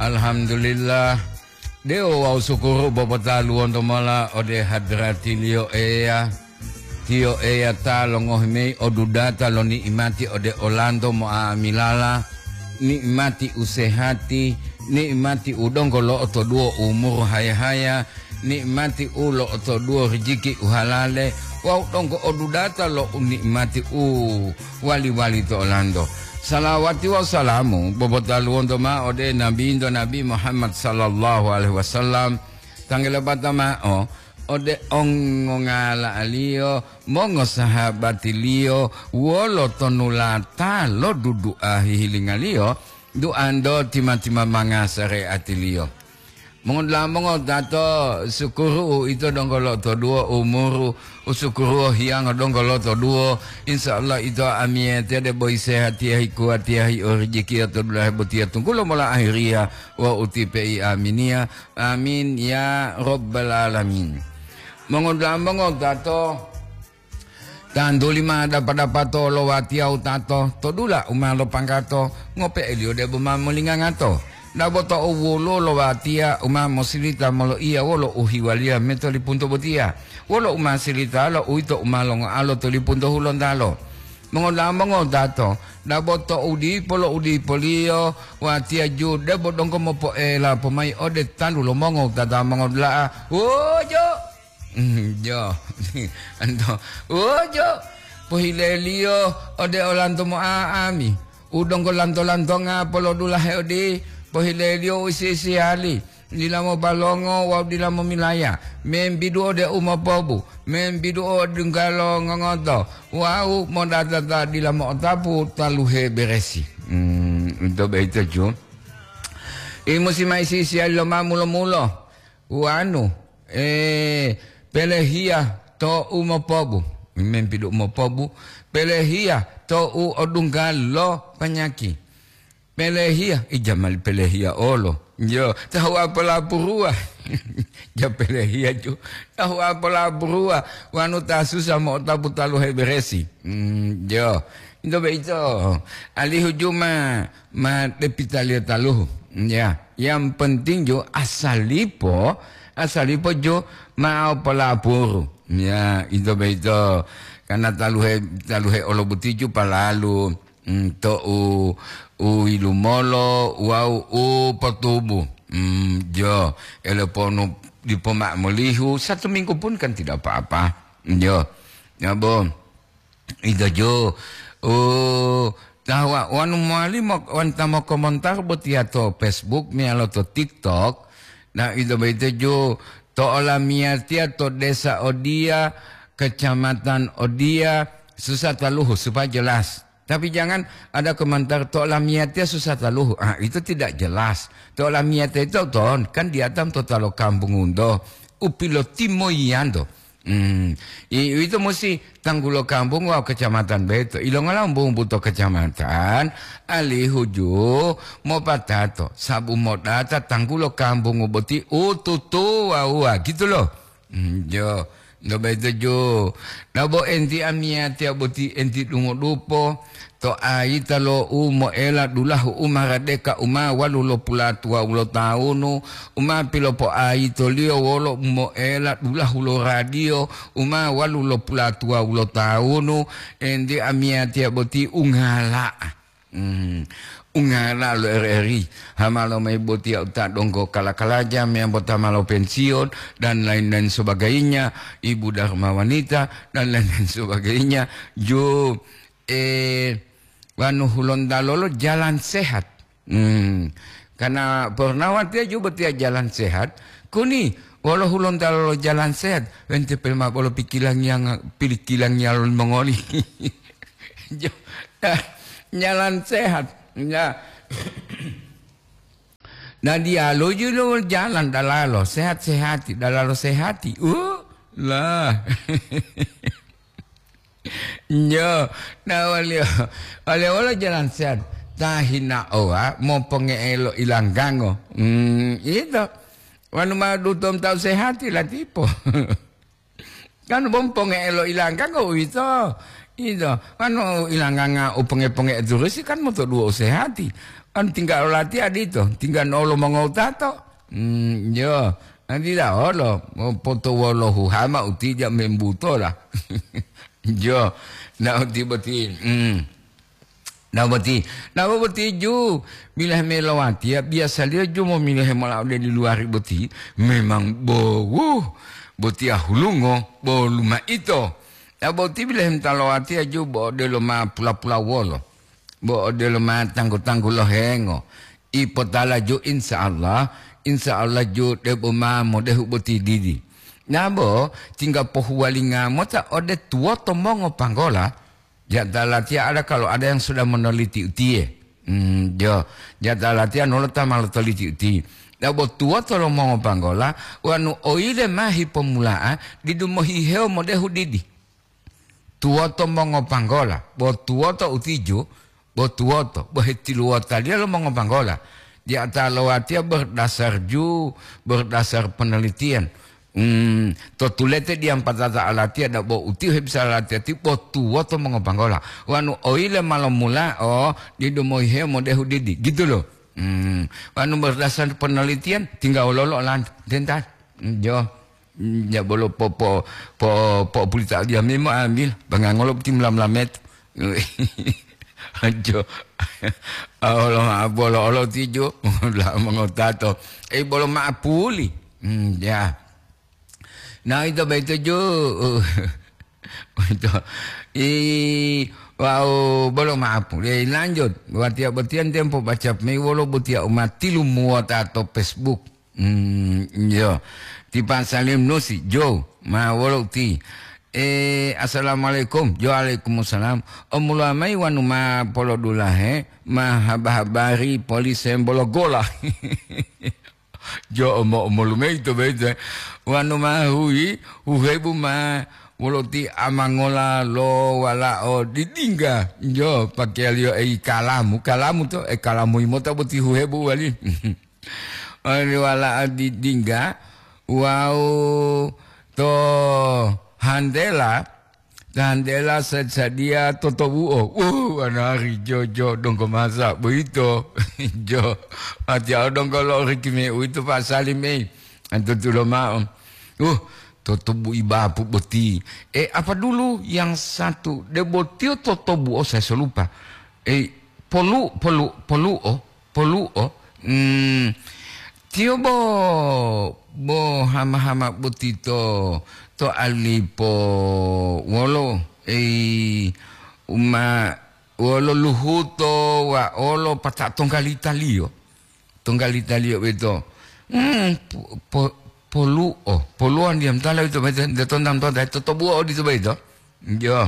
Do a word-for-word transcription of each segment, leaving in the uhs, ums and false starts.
Alhamdulillah. Dewo wawu sukuru bobotaluwonto mola ode hadratiliyo Eya. Tiyo Eya ta longohi mayi odudata lo ni'imati ode olanto mo'amilala, ni'imati u sehati, ni'imati u donggo lo'otoduwo umuru haya-haya, ni'imati u lo'otoduwo rijiki u halale, wawu donggo odudata lo u ni'imati u wali-wali to olanto. Salawati wawu salamu bobotaluwonto mao ode Nabinto Nabi Muhammad sallallahu alaihi wasallam, tanggalabata mao ode ongongala'aliyo, mongosahabatiliyo, wolo tonulata lo dudu'a hihilingaliyo, duanto tima-timamanga sareatiliyo. Mongodula'a mongotato, sukuru uito donggo lotoduwo umuru, usukuruwo hiyango donggo lotoduwo. Insya Allah ito amiyete debo isehatiya hikuwatiya hiorejekiya to dulahe botiya tunggulo mola ahiriya wawu utipe'i aminiya. Amin ya rabbal alamin. Mongodula'a mongotato, tantuli ma dapa-dapato lo watiya wutato to dula u ma lopanggato, ngope'eliyo debo ma molingangato. Dabo to'u woluwo lo watiya u ma mosilita moloiya wolo uhiwaliya metolipunto botiya, wolo u ma silitalo uwito u ma longoalo tolipunto hulontalo. Mongoda'a mongodato, dabo to'u dipo lo udipoliyo watiya ju debo donggo mopo'ela pomayi ode tantu lo mongowutata mongodula'a, "Wuju!" Mm, jo. Anto, "Wuju!" Pohileliyo ode olanto mo'a'ami. U donggo lanto-lantonga polodulahe odi, pohileliyo u isi-isiyali, dila mobalongo wawu dila momilaya, membidu ode u mopobu, membidu ode dunggalo ngongoto, wawu modatata dila mo'otapu taluhe beresi. Hmm, ito boyito ju. I musi ma isi-isiyali lo ma mulo-mulo. Wanu, eh, pelehiya to u mopobu, membidu u mopobu, pelehiya to u odungga lo panyaki. Pelehiya, ijamali pelehiya olo. Yo, tahu apolapuruwa. Ja pelehiya ju, tahu apolapuruwa. Wanu ta susa mo'otapu taluhe beresi. Hmm, yo. Into boyito, alihu ju ma, ma depitaliyo taluhu. Ya, yang penting ju asalipo, asalipo ju mao polapuru. Ya, into boyito. Karena taluhe, taluhe olo butiju palalu, mm, to u, u ilumolo wawu u potubu. Mm, jo, eleponu dipo ma'o molihu, satu minggu pun kan tidak apa-apa. Jo. Ya, Bo. Ito ju, oh, tahuwa wanu mowali mo-, wanta mokomontar botiya to Facebook meyalo to TikTok. Nah, ito boyito ju to olamiyatiya to desa odiya, kecamatan odiya, susah taluhu supaya jelas. Tapi jangan ada komentar to olamiyatiya susah taluhu. Ah, itu tidak jelas. To olamiyatiya itu ton, kan diatam to talo kampung unto, u pilotimoyiyanto. Hmm. I-, uwito musi tanggulo kampung wawu kecamatan boyito. Ilongola wumbu-wumbu to kecamatan, alihu ju mopatato, sabu modata tanggulo kampung boti u tutuwawuwa, gitu lo. Hmm, jo, nto boyito ju. Nabo enti amiyatiya boti enti dungodupo, to ayita lo u moela dulahu u maradeka u ma walu lo pulatuwawu lo tawunu, u ma pilopoayitoliyo wolo u moela dulahu lo radiyo u ma walu lo pulatuwawu lo tawunu, enti amiyatiya boti ungala'a. Hmm. Ungala'a lo R R I, hamalo mayi botiya u ta donggo kala-kalaja, meyambo ta ma lopensiyon, dan lain-lain sebagainya, ibu Dharma Wanita, dan lain-lain sebagainya. Jo, eh, wanu Hulontalo lo jalan sehat. Hmm. Karena pernah watiya ju botiya jalan sehat, kuni wolo Hulontalo lo jalan sehat, wente pelma bolo pikilangiya nga-, pikilangiya lo mongoli. Jo, jalan sehat. Ya. Nah, diyalu ju lo jalan dalalo, sehat-sehati, dalalo sehati. Uh, lah. Nyo, na waliyo, waliyo wolo jalan sehat. Ta hinaowa moponge'e lo ilanggango. Hmm, ito. Wanu ma dutom tau sehati latipo. Kan bom ponge'e lo ilanggango uwito. Ito. Wanu ilangganga u ponge-ponge'e turusi kan motoduwo u sehati. An tinggal latihan ito, tinggal olo mongowutato. Hmm, yo, nanti dah olo, potowolohama utija membutola. Jo, na uti boti. Hmm. Na boti, na boti ju, bilahe melowatiya, biasaliyo ju momilahe mola ode di luari boti, memang bowu, boti ahulungo, bo luma ito. Na boti bilahe mtalowatiya ju bo odelo ma pula-pula wolo. Bo odelo ma tanggu-tanggu lohengo. Ipotala ju insya Allah, insya Allah ju debo ma modehu boti didi. Nabo tinggal pohuwalinga mota ode tuwoto mongo panggola, jata latiya ada kalau ada yang sudah meneliti utiye. Hmm, jo, jata latiya nolo ta ma lotoliti uti. Nabo tuwoto lo mongo panggola, wanu oyile ma hipomula'a, didu mohihewo modehu didi. Tuwoto mongopanggola, bo tuwoto utiju, bo tuwoto, bo hetiluwotaliya lo mongopanggola. Di ata lowatiya berdasar ju, berdasar penelitian. Hmm, to tulete diyampatata alatiya da bo utiyo hebisa alatiya ti bo tuwoto mongopanggola. Wanu oyile ma lomula, oh, didu mohihewo modehu didi, gitu loh. Hmm, wanu berdasar penelitian, tinggal wololo olanto, dental. Hmm, jo. Ya bolo po, po, po, po pulita dia memo ambil, bangangolo boti mula-mula metu. Ajo. Olo ma bolo olo tijo, la mongotato. Eh, bolo ma puli. Hmm, ya. Nah, itu begitu jo. Itu. I, wow, bolo ma puli. Eh, lanjut. Buat tiap betian tempo baca mei wolo butia umat tilu muota atau Facebook. Hmm, iyo. Ti Pak Salim Nusi, Jo, ma wolo uti. Eh, assalamualaikum. Jo, waalaikumsalam. Omuluwa mayi wanu ma polodulahe, ma haba-habari polise bolo gola. Jo, omo-omolu mayi to boyito. Wanu ma huyi, huhebu ma wolo ti amangola lo walao didingga. Jo, pakeyaliyo ei kalamu, kalamu to, e kalamu imota boti huhebu wali. Oli wala'a di-, dingga wawu to handela, to handela sa-, sadiya totobu'o. Wuh, wanari jojo donggo masa boyito. Jo, atiya o donggo lo rikime uwito Pak Salim, ei. Antutulo ma'o. Uh, totobu'i bapu boti. Eh, apa dulu yang satu? Debo tiyo totobu'o, saya so lupa. Eh, polu-, polu-, polu'o. Polu'o, mm, tiyo bo, bo hama-hama boti to, to alipo wolo, ei, uma, wolo luhuto wa olo pata tonggalita-Liyo. Tonggalita-Liyo boyito, mm, po-, po-, polu'o, polu'o ndiyam tala boyito, boyito, nde tontam tonta, totobu'o odito boyito. Jo.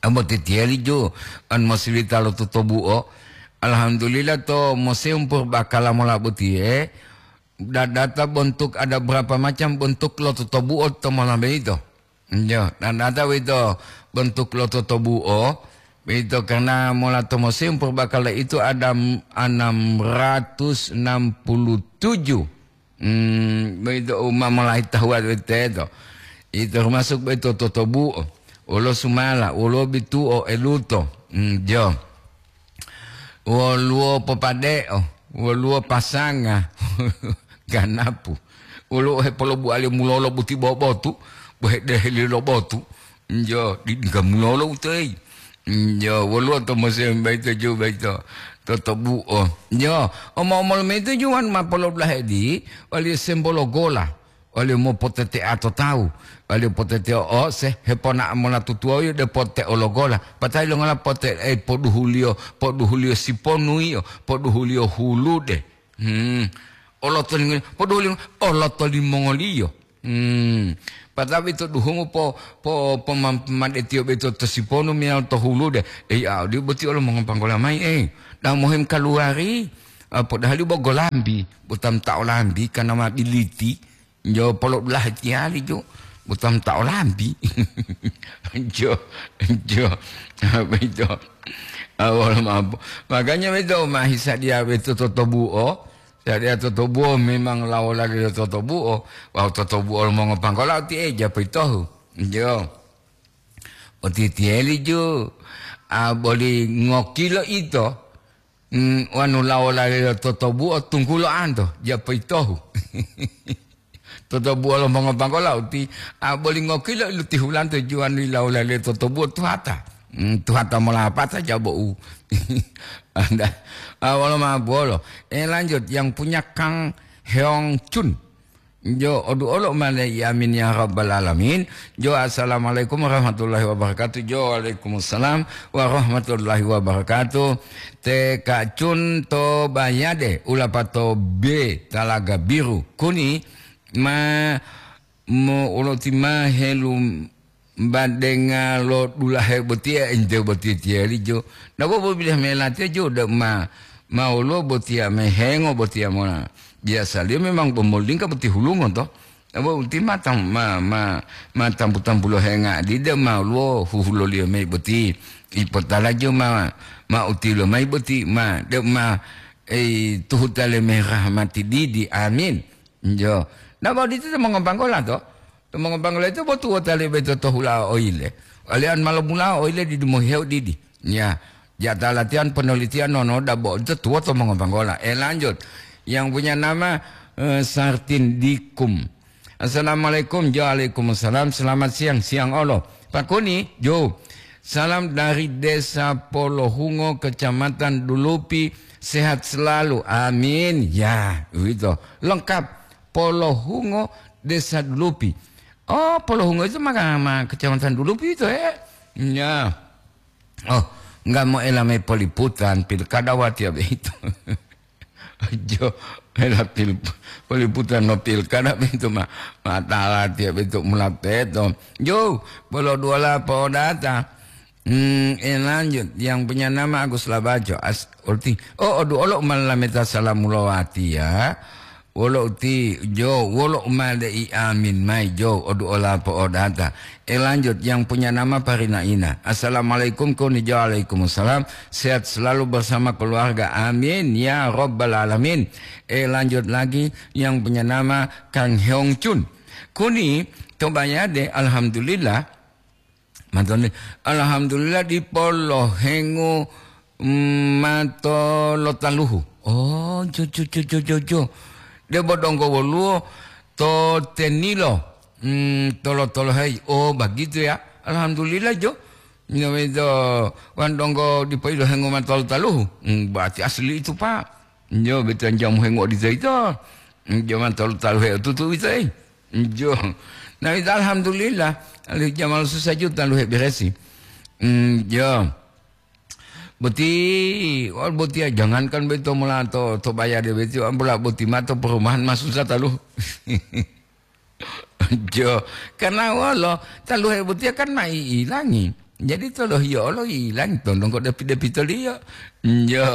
Ambo titiyali ju, an mosilita lo totobu'o. Alhamdulillah to Museum Purbakala mola botiye, dadata bontuk ada berapa macam bentuk lo totobu'o to mola boyito. Jo, dadata boyito bentuk lo totobu'o, boyito karena mola to Museum Purbakala itu ada m-, enam ratus enam puluh tujuh. Hmm, boyito u ma molayi tahuwa teto. Ito termasuk boyito totobu'o, wolo sumala, wolo bitu'o, eluto. Hmm, jo. Woluwo popade'o, woluwo pasanga, ganapu. Woluwo hepolobuwaliyo mulolo buti bobotu, bo hedeheli lo botu. Njo, di-, di gamulolo utoyi. Njo, woluwo to mose baito jo baito. Totobu'o. Njo, omo-omolu mayi to juwan ma polodulahe di, waliyo sembolo gola, waliyo mopotetea to tawu, waliyo potetea o se, hepona mola tutuwoyo de pote ologola. Patai longola pote, eh, poduhuliyo, poduhuliyo siponuyiyo, poduhuliyo hulude. Hmm. Oloto limongoliyo, poduhu lim-, oloto limongoliyo. Hmm. Patabi to duhungu po, po, pomam-, pomadetiyo beto to siponu meyalo to hulude. Ei, a, odi boti olo mongopanggola mayi, ei. Dau mohem kaluwari, a, podahali bo golambi, botam ta olambi, kana ma biliti. Jo polo'u dulahe tiyali jo, botam ta olambi. Jo, jo, apa itu? Awal mampu. Makanya beto mahi sadia beto totobu'o, sadia totobu'o memang lawolaliyo totobu'o, wawu totobu'o lo mongopanggola oti eja poyitohu. Jo. Oti tiyeli ju, a, boli ngokilo ito. mm, wanu lawo lalelo totobuo tunggulo anto, japoyitohu. Totobuo lo mongopanggola uti, a, boli ngokilo ilu tihulanto juwanu ilawo lalelo totobuo tuhata. Mm, tuhata molapata jabo'u. Anda, a, wolo ma bolo. Eh, lanjut, yang punya Kang Heong Chun. Jo, odu olo mane, amin ya rabbal alamin. Jo, assalamualaikum warahmatullahi wabarakatuh. Jo, waalaikumsalam warahmatullahi wabarakatuh. Te kacun to bayade, ulapato be talaga biru. Kuni ma mo uloti ma helu badenga lo dulahe botiya ente boti tiyalijo. Nabo bobilah melatiya jo da ma, ma woluwo botiya mehengo botiya mona. Biasaliyo memang bomolingka boti hulungo to. Nabo uti ma tam-, ma, ma, ma tampu-tampulo henga dida ma woluwo huhuloliyo mayi boti. Ipotala jo ma, ma utilo mayi boti ma, de ma, eh, tuhutale merahmati didi. Amin. Jo. Nabo ditu to mongopanggola to. To mongopanggola itu botu wota lebe to tohula oile. Walian malo mula oile di dumoheu didi. Ya. Jata latihan penelitian nono dabo itu tuwo to mongopanggola. Eh, lanjut. Yang punya nama, eh, Sartin Dikum. Assalamualaikum. Jo, waalaikumsalam. Selamat siang. Siang olo. Pak Kuni, Jo. Salam dari Desa Polohungo, Kecamatan Dulupi. Sehat selalu. Amin. Ya, begitu. Lengkap. Polohungo, Desa Dulupi. Oh, Polohungo itu maka ma Kecamatan Dulupi itu, eh? Ya. Oh, enggak mau elame poliputan pilkada watiya begitu. Jo, ela pil-, poliputan no pilkada begitu ma, matala tiya begitu mula peto. Jo, bolo duwala podata. Hmm, eh, lanjut. Yang punya nama Agus Labaco. As-, ulti. Oh, odu olo malameta salamu lowati ya. Wolo uti, jo, wolo umade i amin mai, jo, odu ola po'odata. Eh, lanjut, yang punya nama Parina Ina. Assalamualaikum, kuni jo, waalaikumsalam. Sehat selalu bersama keluarga. Amin, ya rabbal alamin. Eh, lanjut lagi, yang punya nama Kang Heong Chun. Kuni, to bayade, alhamdulillah. Matone, alhamdulillah dipo lohengo, mm, mato lo taluhu. Oh, jo, jo, jo, jo, jo, jo. Debo donggo woluwo to tenilo, mm, tolo-toloheyi. Oh, begitu ya. Alhamdulillah, jo. Nyo itu wan donggo dipo ilohengo mato lo taluhu. Mm, berarti asli itu, Pak. Nyo beto jamu hengo di itu. Mm, jo mato lo taluhe tutu itu, eh. Njo. Nah, itu alhamdulillah. Alihu jamal susah juta lu heberesi. Hmm, jo. Boti, wal boti ya, jangankan beto mula to, to bayade beti, ambola boti mato perumahan mas susah talu. Jo. Karena walo, talu he boti kan mai ilangi. Jadi tolohiyo olo ilang tondong ko depi-depitoliyo. Njo.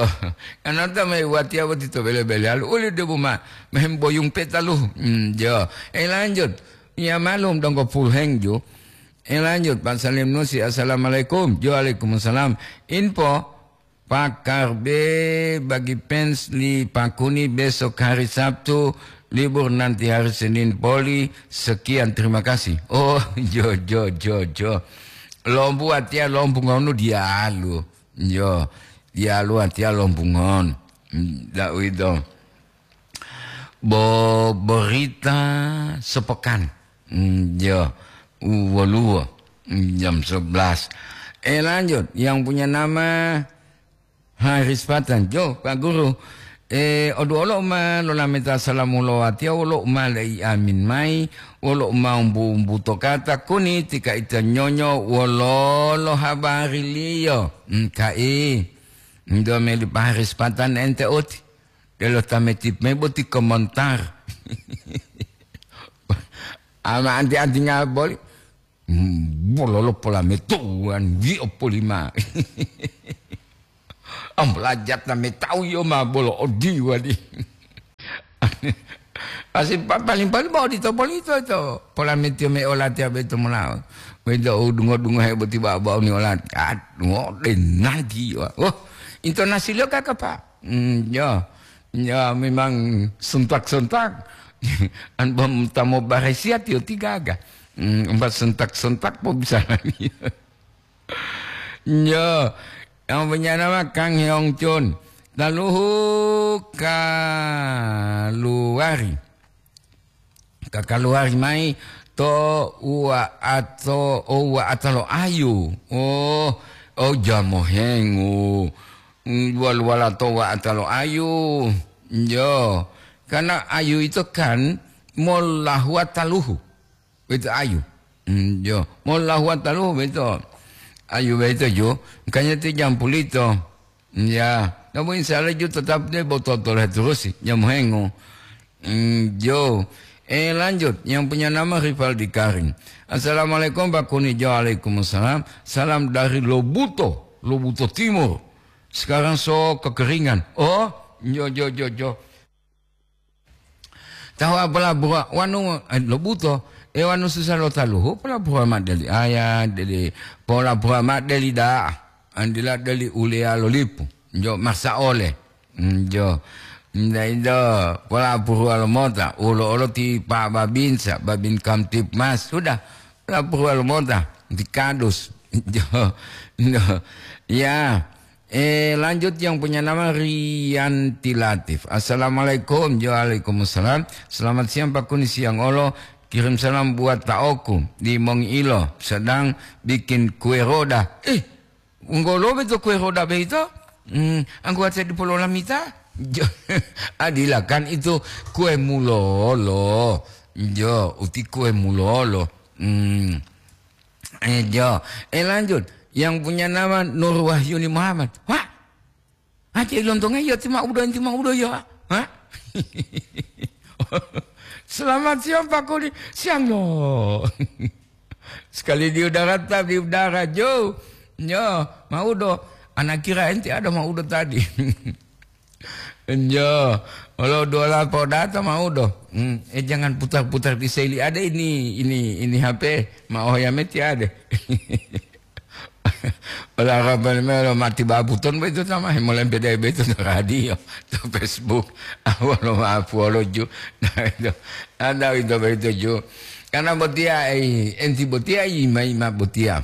Anata mai watiya boti to bele-beleyalu, uli debu ma, mehem boyung petalu. Njo. Eh, lanjut. Ya malum donggo pulheng ju. Eh, lanjut, Pak Salim Nusi, assalamualaikum. Jo, waalaikumsalam. Info, Pakar B bagi fans li Pakuni besok hari Sabtu, libur nanti hari Senin poli. Sekian, terima kasih. Oh, jo, jo, jo, jo. Lombu watiya lombu ngonu diyalu. Yo, diyalu watiya lombu ngon. Ndak uwito. Bo-, berita sepekan. Mm, yo, u-, woluwo. Mm, jam sebelas. Eh, lanjut. Yang punya nama Haris Patan. Jo, Pak Guru. Eh, odu olo ma lolameta salamu lo watiya, wolo ma lei amin mai, wolo ma umbu-umbu to kata kuni tika ita nyonyo wololo habariliyo. Mm, kai. Ndo meli Pak Haris Patan ente oti. Delo tametip me boti komentar. Ama anti-anti ngaboli. Hmm, bololo polametuwan, wi'o polima. Am, lajatna metau yo ma bolo odiwa di. Asi pa-, paling-paling mau dito polito to. Polametiyo me olatiya beto molawo. Wedo dungo-dungo he boti ba-, bau ni olati. Aduh, de nanti yo. Oh, intonasi lo kaka, Pak. Hmm, yo. Ya, memang sontak-sontak. An bom tamo baresiat yo tigaga. Hmm, empat sontak-sontak po bisa lagi. Ya, yang punya nama Kang Heong Chun. Taluhu kaluwari, kakaluwari mayi to uwa'ato, o uwa'ata lo ayu. Oh, oh, jamohengu. Mm, wal-, wala to uwa'ata lo ayu. Jo, karena ayu itu kan molahuwa taluhu. Boyito ayu. Mm, jo. Mola huwa taluhu boyito. Ayu boyito, jo. Makanya ti jampulito. Ya. Namun insya Allah, jo, tetap deh botol-botol terus, jamu hengo. Mm, jo. Eh, lanjut. Yang punya nama Rivaldi Karim. "Assalamualaikum, Pak Kuni." Jo, waalaikumsalam. "Salam dari Lobuto, Lobuto Timur. Sekarang so kekeringan." Oh, jo, jo, jo, jo. Tahu apola bura wanu, eh, Lobuto, eh, wanu susa lo taluhu, pola bura ma deli aya, deli, pola bura ma deli da'a, andila deli uleya lo lipu, jo masa ole, mm, jo, nda indo, pola bura lo mota, ulo olo ti pa babinsa, babin kamtip mas, sudah, pola bura lo mota, ti kadus, jo, jo, ya, Eh, lanjut yang punya nama Rianti Latif. "Assalamualaikum." Jo, waalaikumsalam. "Selamat siang, Pak Kuni, siang olo. Kirim salam buat taoku di Mongiilo, sedang bikin kue roda." Eh, wonggolo beto kue roda beito? Hmm, angguwa saya dipololamita? Jo, adilakan itu kue mulolo. Jo, uti kue mulolo. Hmm. Eh, jo. Eh, lanjut. Yang punya nama Nur Wahyuni Muhammad. Wah, Aceh Lontong, iya ti maudo, enti maudo, ya. Hah? Selamat siang, Pak Kuni. Siang, no. Sekali di udara, tetap di udara, Jo. Yo, maudo. Anak kira enti ada maudo tadi. Enjo, olo duola podata maudo. Hmm, eh, jangan putar-putar di seli. Ada ini, ini, ini H P. Ma oh ya meti ada. Ola raban me lo mati babuton beto tama, he molempe dai beto to radio, to Facebook. Awalo maaf wolo ju. Nah, itu. Anda itu begitu ju. Karena botia, eh, enti botia, ima-ima botia.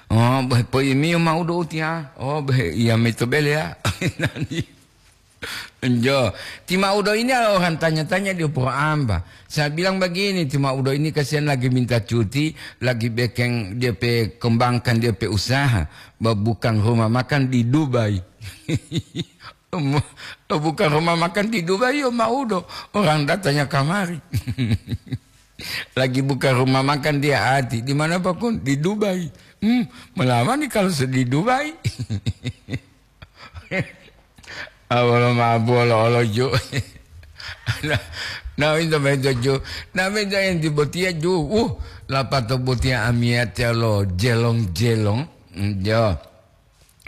Oh, beh, po imiyo maudo utiya. Oh, beh, iya mito bele ya. Nani? Enjo, ti maudo ini adalah orang tanya-tanya di pura amba. Saya bilang begini, ti maudo ini kasihan lagi minta cuti, lagi bekeng dia pe kembangkan dia pe usaha, ba-, bukan rumah makan di Dubai. Bukan rumah makan di Dubai, yo maudo. Orang datanya kamari. Lagi buka rumah makan dia ati. Di mana, Pak Kun? Di Dubai. Hmm, melamani kalau se-, di Dubai. Awalo mabu olo-olo ju. Nah, nah, itu beto ju. Nah, itu yang di botia ju. Uh, lapato botia amiyatiya lo jelong-jelong. Hmm, jo.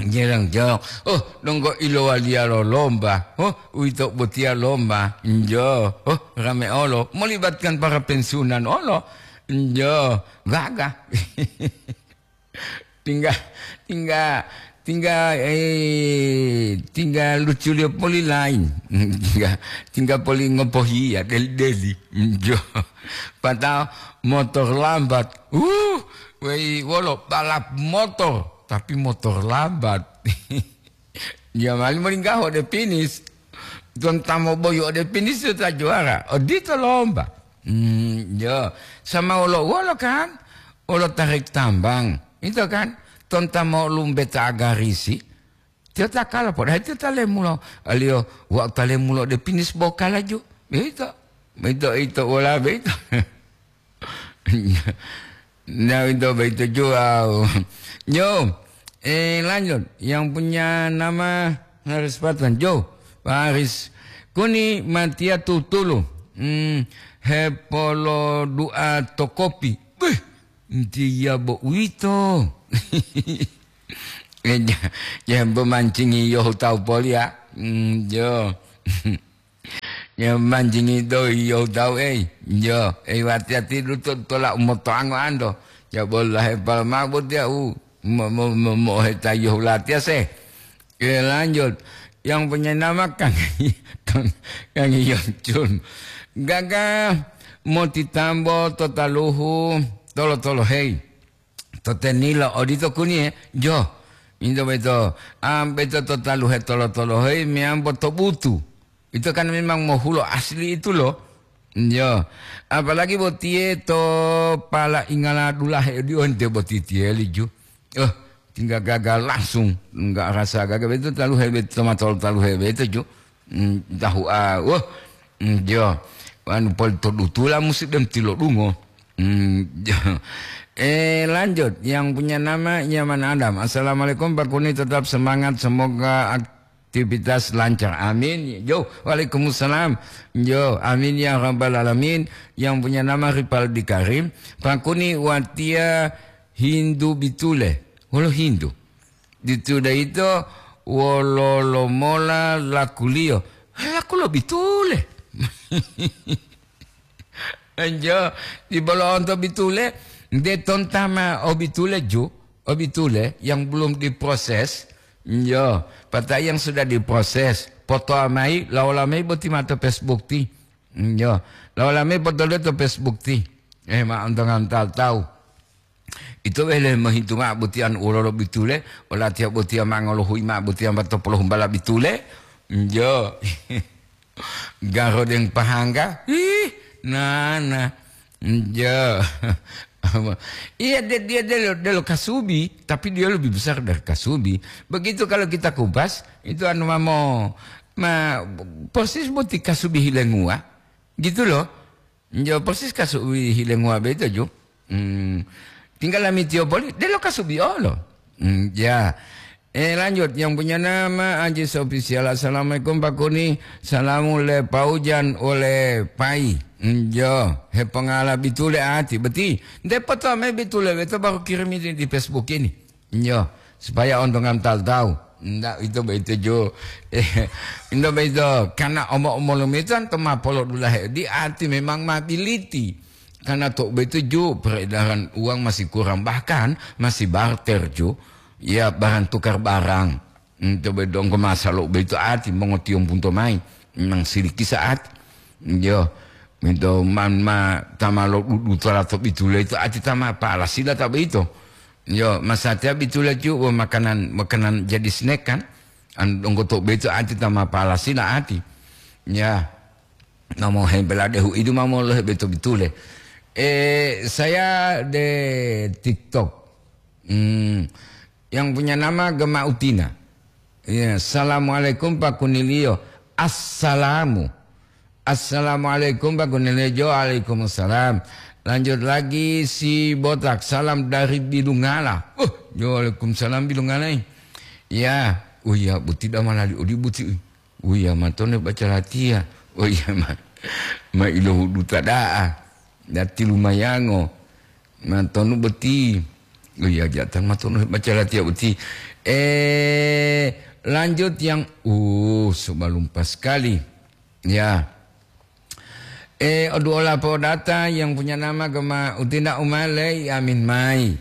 Jerang-jerang. Oh, donggo ilowaliya lo lomba. Oh, uwito botiya lomba. Njo. Oh, rame olo. Molibatkan para pensiunan olo. Njo. Gaga. Tingga, tingga, tingga, eh, tingga luculiyo poli lain. Tingga, tingga poli ngopohiya, deli-deli. Njo. Padahal motor lambat. Uh, wei, wolo balap motor. Tapi motor lambat. Dia mali molinggaho ode finish. Ton ta moboyu ode finish ta juara. Odito lomba. Hmm, yo. Sama wolo-wolo kan? Wolo tarik tambang. Itu kan? Ton ta mo lumbeta agarisi. Tiyo ta kala, padahal tiyo ta lemulo. Aliyo, wau ta lemulo ode finish bo kalaju. Beito. Beito, ito, wala beito. Nah, itu begitu juga. Yo, eh, lanjut. Yang punya nama Haris Patan. Jo, Pak Haris. Kuni matia tutulu. Hmm, hepolo dua to kopi. Beh, dia bo uwito. Eh, ja-, ja bo mancingi yo tawu polia. Hmm, jo. Ya, manjingi do iyo tawu, ei. Yo, ei, wati-wati duto tola umotoango ando. Ya, bola hepal mabut ya, u, mo-, mo-, mo-, moheta yo hulatiya se. Oke, lanjut. Yang punya nama Kang, Kang, Kang Yoncun. Gaga motitambo to taluhu tolo-tolo, hei. To tenilo odito kuniye, jo. Ito boyito, ah, boyito to taluhe tolo-tolohe meyambo to butu. Ito kan memang mohulo asli itu loh. Yo, apalagi botiye to pala ingala dulahe di onte boti tiyeli ju. Oh, tinggal gagal langsung, nggak rasa gagal. Itu taluhe boyito, to matolo taluhe boyito ju. Hmm, tahu, ah, wah, hmm, jo. Anu pol to dutula musi dem tilodungo. Hmm, jo. Eh, lanjut, yang punya nama Yaman Adam. "Assalamualaikum Pak Kuni, tetap semangat, semoga aktivitas lancar." Amin. Jo, waalaikumsalam. Jo, amin ya rabbal alamin. Yang punya nama Ripaldi Karim. "Pak Kuni, watiya Hindu bitule." Wolo Hindu. Ditu daito wololo mola lakuliyo? Laku lo bitule. Enjo, di bolo onto bitule, de tontama o bitule ju, o bitule yang belum diproses. Enjo, patai yang sudah diproses, foto amai, laola mai boti mato Facebook ti. Enjo, laola mai foto to Facebook ti. Eh, ma ontongan tahu-tahu. Ito wele mohintu ma'o botiya wolo-wolo bitule, olatiya botiya ma ngolohuyi ma'o botiya ma to polohumbala bitule. Njo. Garodeng pahangga. Ih, nana. Njo. Iya, de-, dia delo, delo kasubi, tapi dia lebih besar dari kasubi. Begitu kalau kita kupas, itu anu mamo, ma, persis boti kasubi hilenguwa. Gitu loh. Njo persis kasubi hilenguwa boyito ju. Hmm. Tinggal lamitiyo poli, delo kasubi olo. Hmm, ya. Eh, lanjut, yang punya nama Ajis Official. "Assalamualaikum Pak Kuni. Salamu le Paujan ole Pai." Njo, hepongala bitule ati, beti. Nde foto me bitule, beto baru kirim ini di Facebook ini. Iyo, supaya ontongan tahu-tahu. Ndak itu begitu ju. Ndak begitu. Karena omo-omolu metan to ma polodulahe di ati memang ma biliti. Karena to begitu ju peredaran uang masih kurang, bahkan masih barter ju. Ya, barang tukar barang. Hmm, to be donggo masalo begitu ati mongotiyombu to mai. Memang sidiki saat. Iyo. Mito man ma tama lo dudu tolato bitule itu ati tama pala sila ta beito. Yo, masatiya bitule ju wo makanan, makanan jadi snack kan. An donggo to beito ati tama pala sila ati. Ya. Namo hembela dehu idu mamo lo beto bitule. Eh, saya de TikTok. Hmm, yang punya nama Gema Utina. Iya, "Assalamualaikum Pak Kunilio." Assalamu. "Assalamualaikum Pak Kunilio." Jo, "Waalaikumsalam." Lanjut lagi si botak, "Salam dari Bilungala." Oh, jo, "Waalaikumsalam Bilungala." Eh. Ya, oh iya, buti damalali odi buti. Uya matone baca latiya. Oh iya, ma, ma ilohuduta da'a. Dati lumayango. Matonu boti. Uya jatan matonu baca latiya boti. Eh, lanjut yang, uh, sebelum pas sekali. Ya. Eh, oduola podata yang punya nama Gema Utina Umale, amin mai.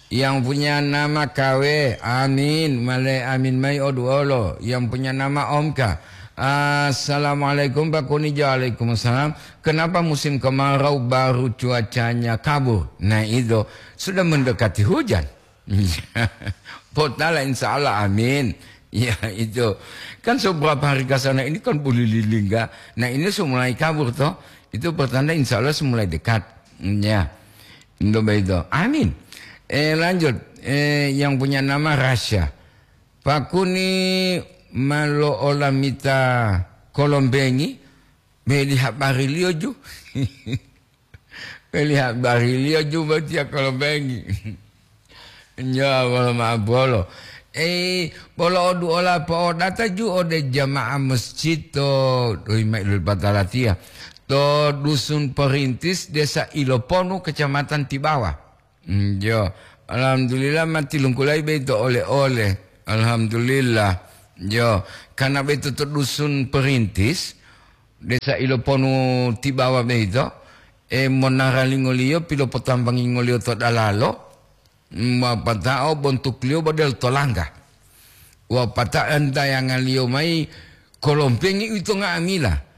Yang punya nama Kawe, amin, male amin mai oduolo. Yang punya nama Omka. "Assalamualaikum Pak Kunijo." "Waalaikumsalam." "Kenapa musim kemarau baru cuacanya kabur?" Nah, itu sudah mendekati hujan. Potala, insya Allah, amin. Ya, itu. Kan seberapa hari ke sana ini kan boleh lilingga. Nah, ini semulai kabur toh. Itu pertanda insya Allah semulai dekat. Ya. Indo begitu. Amin. Eh, lanjut. Eh, yang punya nama Rasya. "Pak Kuni malo olamita kolombengi, meli habariliyo ju." Meli habariliyo ju botiya kolombengi. Nyo, bolo ma'o bolo. Eh, bolo oduola po'odata ju ode jamaah masjid to, doyi mailul batalatiya. To Dusun Perintis, Desa Iloponu, Kecamatan Tibawa. Hmm, jo. Alhamdulillah, ma tilungkulayi boyito ole-ole. Alhamdulillah. Jo. Karena boyito to Dusun Perintis, Desa Iloponu Tibawa boyito, e, monaralingoliyo pilopotambangingoliyo to dalalo, wapatao bontukliyo bodel tolangga. Wapatao entayangaliyo mayi kolompengi uwito nga'amila.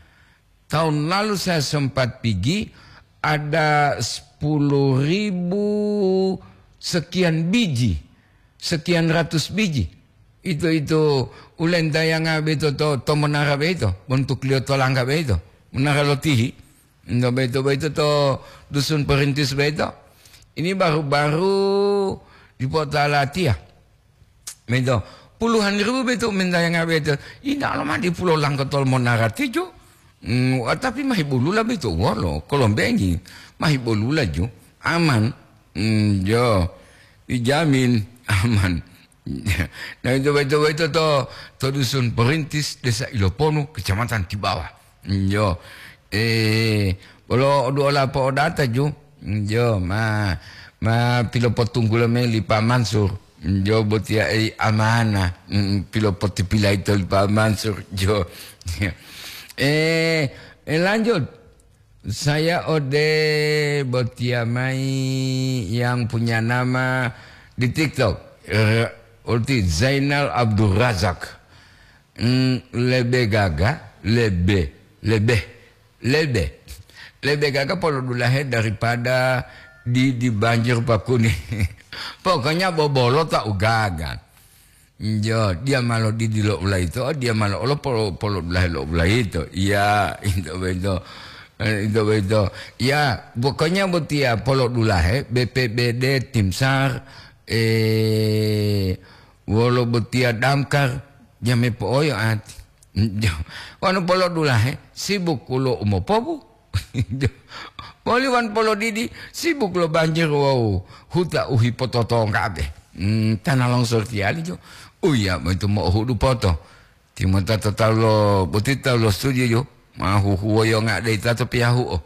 Tahun lalu saya sempat pigi, ada sepuluh ribu sekian biji. sekian ratus biji. Ito-ito ulentayanga beito to, to monara beito, bontukliyo to langga beito, monara lo tihi. Ento beito-beito to Dusun Perintis beito. Ini baru-baru dipota latiya. Beito, puluhan ribu beito mentayanga beito. Ina lo ma dipulo langkotol monara tijo. Hmm, wa-, tapi mahibolula beito wolo, kolombengi. Mahibolula ju. Aman. Hmm, jo. Dijamin aman. Nah, itu beito-beito to, to Dusun Perintis, Desa Iloponu, Kecamatan Tibawa. Yo, eh, bolo oduola po'odata ju. Yo, ma, ma pilopotunggulo mayi li Pa Mansur. Yo, botiya ei amana. Mm, pilopotipilai to li Pa Mansur. Yo. Eh, eh, lanjut. Saya ode botiya mayi yang punya nama di TikTok. Eh, Ulti Zainal Abdul Razak. Hmm, lebe gaga, lebe, lebe, lebe. Lebe gaga polodulahe daripada di, di banjir pakuni. Pokoknya bobolo ta ugaga. Jo, dia malo didi lo ulaito, dia malo olo polo, polodulahe lo ulaito. Iya, itu beto. Eh, itu beto. Ya, pokoknya botia polodulahe, B P B D, Tim SAR, eh, wolo botia Damkar, jame po'oyo ati. Wanu polodulahe, sibuk ulo umopobu. Boli wan polodidi, sibuk lo banjir wawu huta u hipototonggabe. Hmm, tana longsor tiyali jo. Uya, moitu mo'ohudu poto. Timota to talu lo, boti talu lo studio jo. Ma huhuwoyo nga'de ita to piyahu'o.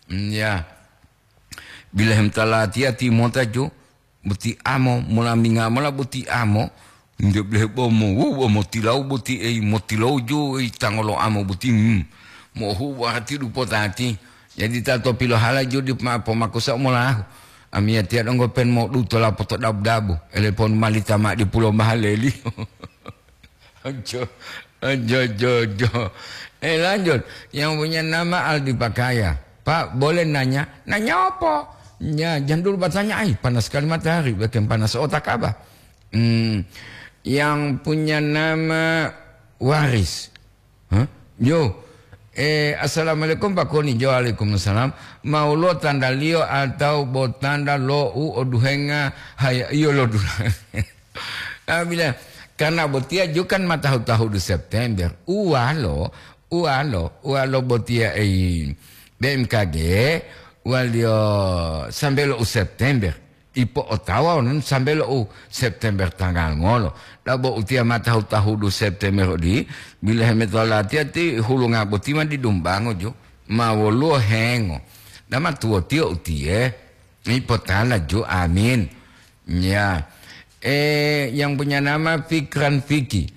Hmm, ya. Bilahem talatiya timota jo. Boti amo, molaminga mola boti amo, nde blehe bomo, wu, bomo tilau boti ei, motilau jo ei tangolo amo boti, hmm. Mohu wati dupotati. Jadi tato pilohala jo di ma pomakusa molahu. Amiyatiya donggo pen modu tola poto dabu-dabu. Elepon malita ma di pulo mahaleli. Ojo, ojo, ojo, ojo. Eh, lanjut. Yang punya nama Aldi Pakaya. Pak, boleh nanya? Nanya apa? Ya, jangan dulu bertanya, ay, panas sekali matahari, bikin panas otak apa? Hmm, yang punya nama Waris. Hah? Yo. Eh, assalamualaikum, Pak Koni. Jo, waalaikumsalam. Mau lo tanda liyo atau bo tanda lo u oduhenga haya iyo lo dula. Ah, bila, karena botiya ju kan ma tahu-tahudu September. Uwalo, uwalo, uwalo botiya ei B M K G, waliyo sambe lo u September. Ipo otawa onon sambe lo u September tanggal ngolo. Dabo utiya ma tahu-tahudu September odi, bila hemeto latiya ti hulunga boti ma didumbango ju. Ma woluwo hengo. Dama tuwotiyo utiye. Ipotala ju, amin. Ya. Eh, yang punya nama Fikran Fiki.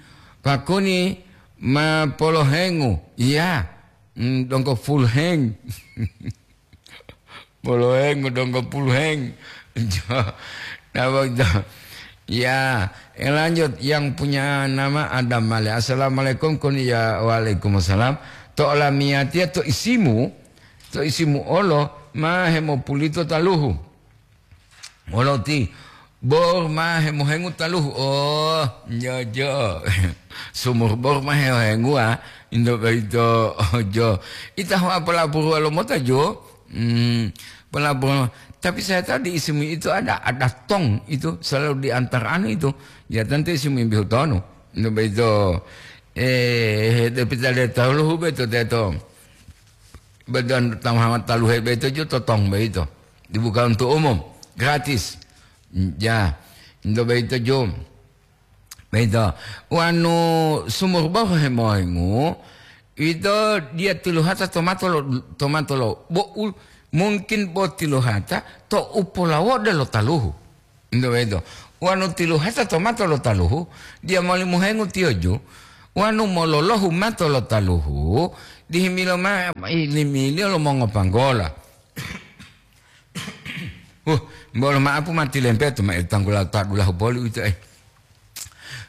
Pakuni ma polohengu. Iya. Hmm, dongko full heng. Polohengu dongko full heng. Jo. Napa itu? Ya, eh, lanjut yang punya nama Adam Male. Assalamualaikum, kun ya waalaikumsalam. To olamiyatiya to isimu, to isimu olo ma hemopulito taluhu. Wolo ti bor ma hemohengu taluhu. Oh, jojo. Sumur bor ma hemohengu, ah. Indo boyito, ojo. Ita ho apolaburu lo mota jo. Hmm, apolaburu. Tapi saya tahu di isimu itu ada, ada tong itu selalu diantar anu itu. Ya tentu isimu imbihu tonu. Indo boyito. Eh, tapi tidak tahu lo hube to teto. Badan tamaha taluhe boyito jo totong boyito. Dibuka untuk umum, gratis. Ya, ento boyito jo. Boyito. Wanu sumur bohu hemohengu, ito dia tiluhata tomato lo, tomato lo. Bo u-, mungkin bo tiluhata to upolawoda lo taluhu. Ento boyito. Wanu tiluhata to mato lo taluhu, diya moli muhengu tiyoju, wanu mololohu mato lo taluhu, dihimilo mao ilimiliyo lo mongopanggola. Huh, bolo ma'apu mati lempetu ma tanggula ta dulahu poli uwito, eh.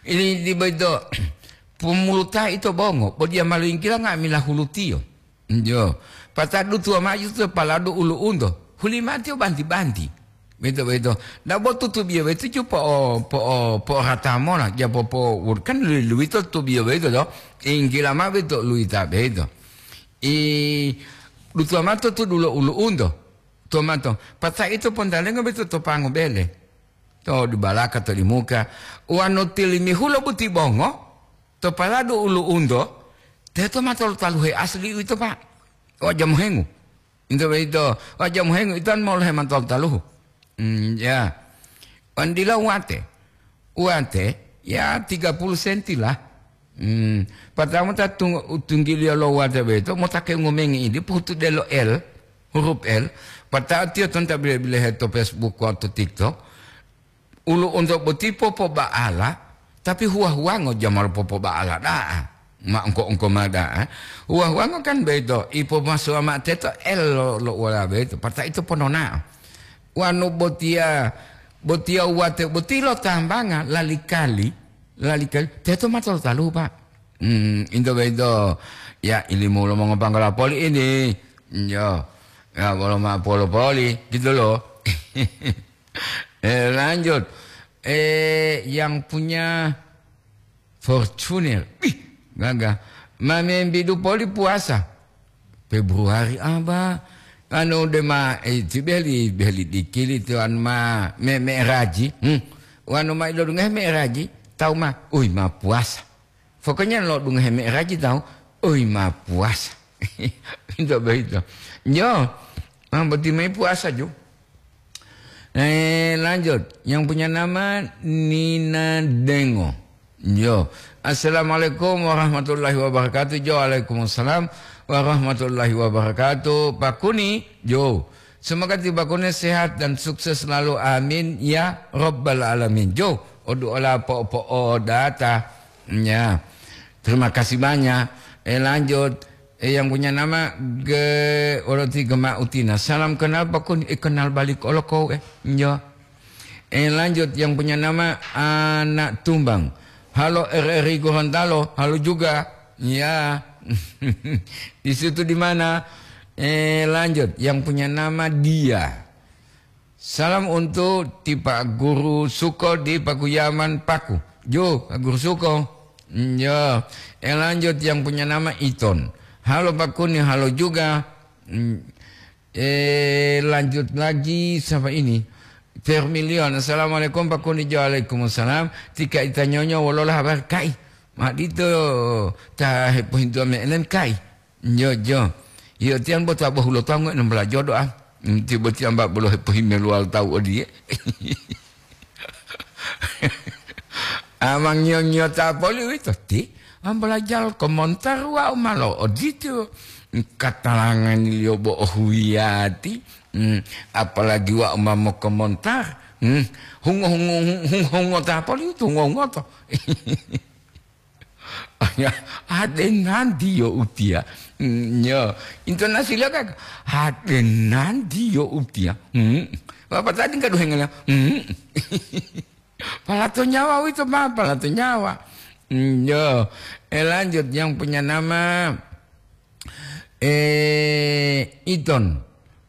Ini di boyito, pumuluta ito bongo, bo diya ma loyingkila nga'amila hulutiyo. Jo. Patadu tuwa maju to paladu ulu'unto, hulimatiyo banti-banti. Boyito, boyito. Dabo tutubiyo boyito ju po'o-, po'o-, po'orata mola, ja popo-, kan lu-, luwito tutubiyo boyito to. Inggila mao boyito luwita boyito. I dutuwa mao to tudulo ulu'unto. Tuwa mao to. Pata ito pontalengo boyito to pango bele. To dibalaka to dimuka. Wanu tilimihulo boti bongo, to paladu ulu'unto, teto mao tolo taluhe asli uwito, Pak. Waja mohengu. Into boyito, waja mohengu ito molohe mao tolo taluhu. Hmm, ya. Wan dila wate. Wate, ya tiga puluh senti lah. Hmm. Pertama ta tung-, tunggiliyo lo wate boyito, mota ke ngomengi idi, pohutu delo L, huruf L. Pata'o tiyo tonta bile-bilehe to Facebook wawu to TikTok. Ulu'unto boti popoba'ala, tapi huwa-huwango jamalo popoba'ala da'a. Ma engko-engko ma da'a. Huwa-huwango kan boyito, ipomasuwa mao teto L lo, lo uwala boyito, pata ito pononao. Wanu botiya, botiya wate boti lo tambanga lalikali, lalikali, teto mao tolo taluhu, Pak. Hmm, into boyito, ya ilimu lo mongopanggola poli ini. Yo, ya bolo mao polo poli, gitu loh. Eh, lanjut. Eh, yang punya Fortuner. Ih, gagah. Ma membidu poli puasa. Februari aba. Anu dema, eh, ti beli, beli dikili tu anu ma me, me raji. Hmm. Wanu ma ilo dungahe me raji. Tahu ma, ui ma puasa. Pokoknya lo dungahe me raji tahu, ui ma puasa. Itu begitu. Yo, ma boti mai puasa ju. Eh, lanjut. Yang punya nama Nina Dengo. Yo. Assalamualaikum warahmatullahi wabarakatuh. Jo, waalaikumsalam warahmatullahi wabarakatuh. Pak Kuni, jo. Semoga ti Pak Kuni sehat dan sukses selalu. Amin ya rabbal alamin. Jo, odu ola po-, po-, o data. Ya. Terima kasih banyak. Eh, lanjut. Eh, yang punya nama Ge-, Oroti Gema Utina. Salam kenal Pak Kuni. Eh, kenal balik olo kau, eh. Yo. Eh, lanjut, yang punya nama Anak Tumbang. Halo R R I Gorontalo, halo juga. Ya. Di situ di mana? Eh, lanjut, yang punya nama Dia. Salam untuk ti Pak Guru Suko di Pakuyaman Paku. Jo, Pak Guru Suko. Hmm, ya. Eh, lanjut, yang punya nama Iton. Halo Pak Kuni, halo juga. Hmm, Eh, lanjut lagi, siapa ini? Vermilion. Assalamualaikum, Pak Kuni. Waalaikumsalam. Tika ita nyonyo, wolola habari kai? Ma dito ta hepohintuwa me enen kai? Jo, jo. Yo, tiang bo ta bohulo tawu enam belas jodo, ah. Hmm, tibo tiang ba bolo hepohimeluwal tawu odiye. Amang ngiyo-ngiyo ta poli uwito ti, ambalajal komontar wau malo odito. Katalangani liyo bo ohuyati, hmm, apalagi wau ma mokomontar, hmm, hungo-hungo, hungo-hungo ta poli uwito, hungo-hungo to. Ade nanti yo utiya. Hmm, yo, intonasi liyo ka, ade nanti yo utiya. Hmm. Bapak tadi nggak duhengelnya. Hmm. Palato nyawa wito, Pak, palato nyawa. Hmm, yo. Eh, lanjut, yang punya nama, eh, Iton.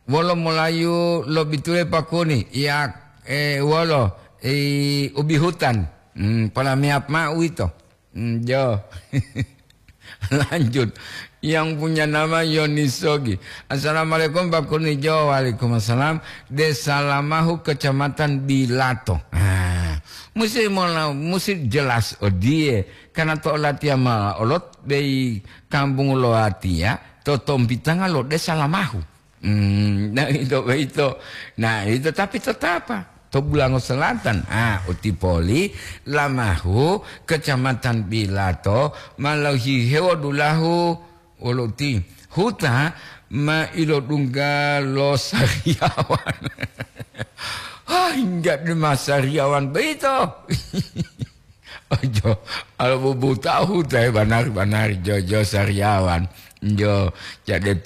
Wolo molayu lobitule Pak Kuni. Ya, eh, wolo, eh, ubi hutan. Hmm, pala meap ma uwito. Hmm, jo. Lanjut. Yang punya nama Yoni Sogi. Assalamualaikum, Pak Kuni. Jo, waalaikumsalam. Desa Lamahu, Kecamatan Bilato. Ah, musi mola-, musi jelas odiye. Karena to olatiya ma olot bei kampung lo atiya, to tompitanga lo Desa Lamahu. Hmm, nah, ito boyito. Nah, ito tapi tetapa to Bulango Selatan. Ah, uti poli Lamahu, Kecamatan Bilato, ma lohihewo dulahu wolo uti huta ma ilodungga lo Sariawan. Ah, hingga di ma Sariawan boyito. Ojo, alo bubu tahu tahe banari-banari jo, jo Sariawan. Jo, jade